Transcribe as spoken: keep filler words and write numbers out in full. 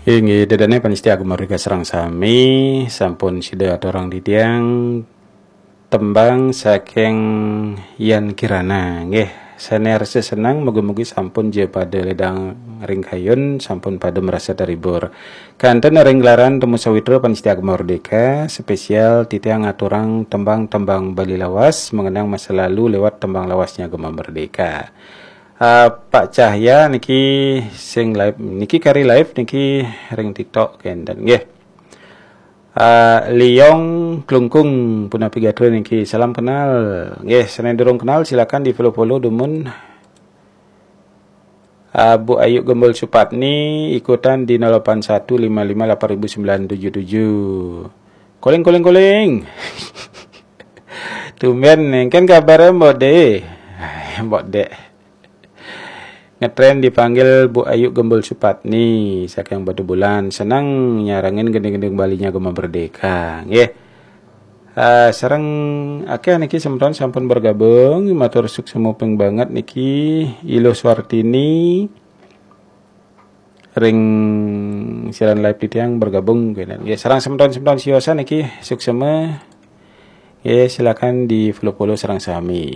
Inggih, ida dané pamiarsa Gema Merdeka sareng sami, sampun sida aturang titiang tembang saking Yan Kirana. Nggih, sané rasa seneng, mugi-mugi sampun ja pada ledang ring kayun, sampun pada merasa terhibur. Kanten ring gelaran Temu Sawitra pamiarsa Gema Merdeka, spesial titiang aturang tembang-tembang Bali lawas, mengenang masa lalu lewat tembang lawasnya Gema Merdeka. Ah, Pak Cahya niki sing live, niki kari live niki ring TikTok kenten nggih. Ah, Liong Klungkung punapi gatra niki, salam kenal. Nggih, sané durung kenal silakan di-follow-follow dumun. Ah, Bu Ayu Gembul Supatni ikutan di nol delapan satu lima lima delapan ribu sembilan tujuh tujuh. Koling, koling, koling. Tumben nih, kan kabarnya Mbok Dé. Mbok Dé. Ngetren dipanggil Bu Ayu Gembul Supatni saking Batubulan. Seneng nyarengin gending-gending Balinya Gema Merdeka. Nggih. Ah, sareng akéh niki semeton sampun bergabung, matur suksma ping banget niki. Iluh Suartini ring siaran live titiang bergabung kenten. Ya, sareng semeton-semeton siosan niki suksma. Ya, silakan di-follow-follow sareng sami.